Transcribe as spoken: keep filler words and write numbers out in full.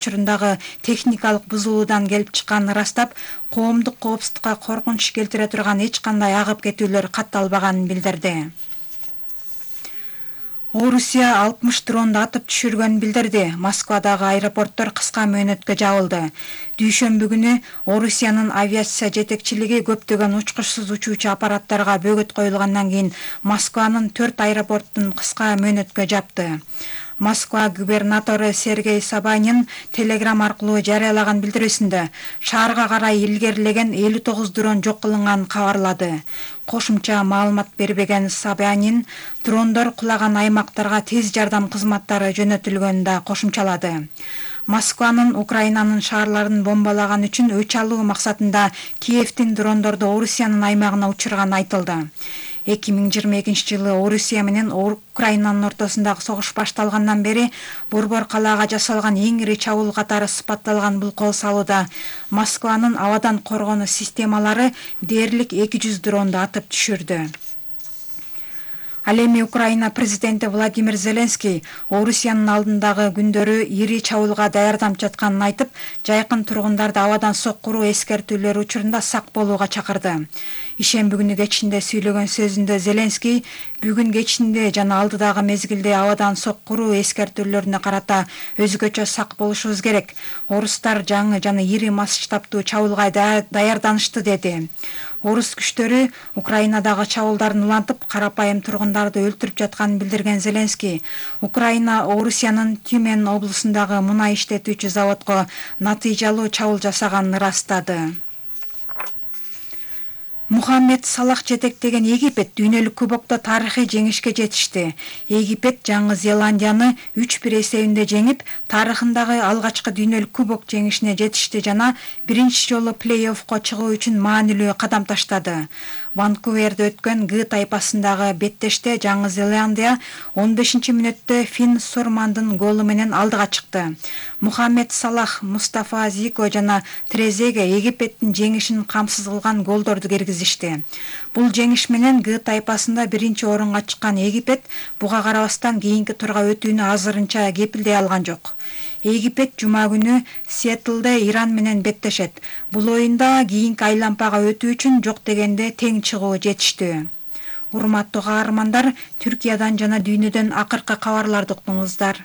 учурундагы техникалык бузулуудан келип чыкканын ырастап, коомдук коопсуздукка коркунуч келтире турган эч кандай агып кетүүлөр катталбаганын билдирди. Орусия алтымыш дронду атып түшүргөнүн билдирди. Москвадагы аэропорттор кыска мөөнөткө жабылды. Дүйшөмбү күнү Орусиянын авиация жетекчилиги көптөгөн учкучсуз учуучу аппараттарга бөгөт коюлгандан кийин Москванын төрт аэропортун кыска мөөнөткө жапты. Москва губернатору Сергей Собянин телеграм аркылуу жарыялаган билдирүүсүндө шаарга карай илгерилеген элүү тогуз дрон жок кылынганын кабарлады. Кошумча маалымат бербеген Собянин дрондор кулаган аймактарга тез жардам кызматтары жөнөтүлгөнүн да кошумчалады. Москванын Украинанын шаарларын бомбалаган үчүн өч алуу максатында Киевдин дрондорду Орусиянын аймагына учурганы айтылды. эки миң жыйырма экинчи жылы Орусия менен Украинанын ортосундагы согуш башталгандан бери Борбор калаага жасалган эң ири чабуул катары сыпатталган бул кол салууда Москванын абадан коргонуу системалары дээрлик эки жүз дронду атып түшүрдү. Ал эми Украина президенти Владимир Зеленский Орусиянын алдындагы күндөрү ири чабуулга даярданып жатканын айтып, жайкын тургундарды абадан соккуруу эскертүүлөр учурунда сак болууга чакырды. Ишемби күнү кечинде сүйлөгөн сөзүндө Зеленский бүгүн кечинде жана алдыдагы мезгилде абадан соккуруу эскертүүлөрүнө карата өзгөчө сак болушубуз керек. Орустар жаңы жана ири масштабтуу чабуулга даярданышты деди. Орус күчтөрү Украинадагы чабуулдарын улантып, карапайым тургундарды өлтүрүп жатканын билдирген Зеленский, Украина Орусиянын Тюмень облусундагы мунай иштетүүчү заводко натыйжалуу чабуул жасаганын ырастады. Мухаммед Салах жетектеген Египет дүйнөлүк кубокто тарыхый жеңишке жетишти. Египет Жаңы Зеландияны үч бир эсебинде жеңип, тарыхындагы алгачкы дүйнөлүк кубок жеңишине жетишти жана биринчи жолу плей-оффко чыгуу үчүн маанилүү кадам таштады. Ванкуверде өткөн Г тайпасындагы беттеште Жаңы Зеландия он бешинчи мүнөттө Фин Сурмандын голу менен алдыга чыкты. Мухаммед Салах, Мустафа Зико жана Трезеге Египеттин жеңишин камсыз кылган голдорду киргизишти. Бул жеңиш менен Г тайпасында биринчи орунга чыккан Египет буга карабастан кийинки турга өтүүнү азырынча кепилдей алган жок. Египет жума күнү Сиэтлде Иран менен беттешет. Бул оюнда кийинки айлампага өтүү үчүн жок дегенде тең чыгуу жетиштүү. Урматтуу каармандар, Түркиядан жана дүйнөдөн акыркы кабарларды уктуңуздар.